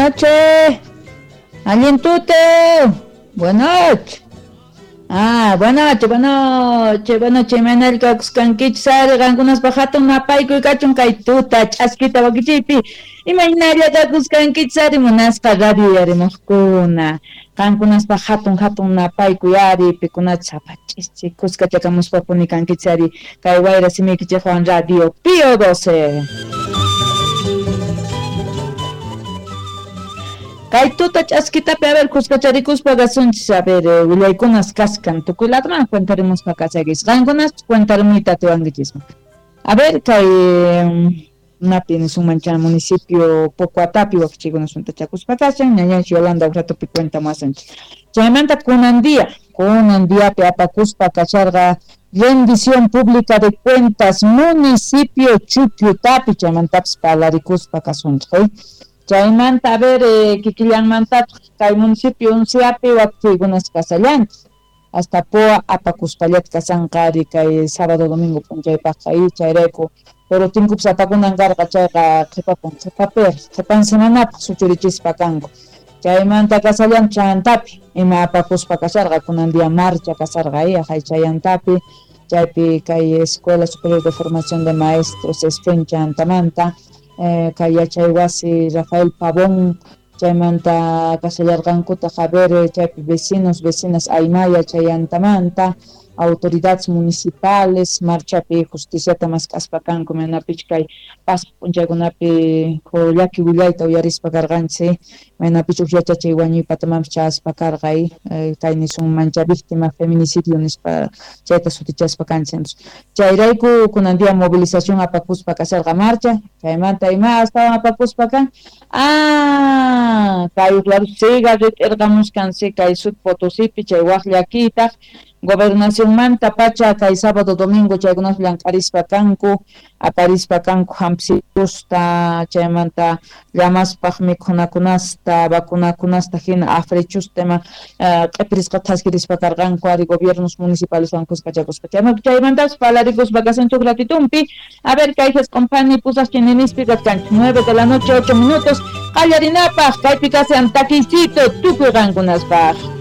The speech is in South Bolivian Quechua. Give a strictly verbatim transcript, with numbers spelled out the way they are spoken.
noches. Allin tuta. Buenas noches. Ah, buenas noches, buenas noches, buenas noches. Imaynalla kakuskankichis ari qankunaspa hatun napaykuy kachun kay tuta ch'askita wakichiypi. Imaynalla kakuskankichis ari munasqa radio yarimuqkuna. Qankunaspa hatun hatun napaykuy ari pikunachus apach'ischi kuskachakamuspapuni kankichis ari kay wayra simiykichikwan Radio Pío doce. Kay tuta ch'askitapi a ver kuskacharikuspa kasunchis a ver eh, willaykunas kaskan tukuy ladoman cuentarimuspa kasakis qankunas cuentarimuyta atiwankichisman. A ver kay napi nisunman chay municipio Pocoatapi wakichikunas suntachakuspa kashan ñañanchis Yolanda uqratupi cuenta muwasunchis. Chaymanta kunan día kunan diapi apakuspa kasharqa rendición pública de cuentas municipio Chukyutapi chaymantapis parlarikuspa kasunchis eh. Chaymanta a ver eh, kikillanmantataq kay municipio Unciapi wakichikunas kasallanchis hasta Poa apakuspallata kasanqa ari kay sábado domingo p'unchaypaqqa y chayrayku pero tinkupas apakunan karqa chayqa qhipapun qhipapi qhipan semanapaq suchurichispa kanku. Chaymanta kasallan chantapi ima apakuspa kasharqa kunan día marcha kasarqa ahí ajay chayantapi chaypi kay Escuela Superior de Formación de Maestros ESFEN chantamanta eh, kay yachaywasi Rafael Pavón chaymanta kasallarqankutaq a ver chaypi vecinos vecinas Aymaya chayantamanta autoridades municipales marchapi justiciata mask'aspa kanku maynapich kay pasaq p'unchaykunapi llaki willayta uyarispa karqanchis maynapich uj yachachay wañuypatamanpis chayaspa karqa eh, kay nisunman chay víctima feminicidio nispa chayta sutichaspa kanchis. Chayrayku kunan día movilización apakuspa kasharqa marcha chaymanta ima astawan apakuspa kan ah kay claro siga rit'irqamuskan si kay Sud Potosipi chay waq llakiytaq gobernacionmanta pacha kay sábado domingo chaykunas llank'arispa kanku aparispa kanku hampsitusta chaymanta llamaspaq mikhunakunasta vacunakunasta hina africhusta ima q'ipirisqa thaskirispa karqanku ari gobiernos municipaleswan kuskachakuspa chaymantapas parlarikuspa kasunchik ratitumpi. A ver kay Jesq'unphani pusaq chininispi kachkanchik nueve de la noche ocho minutos qallarinapaq kaypi kasan takiycito tukuy qankunaspaq.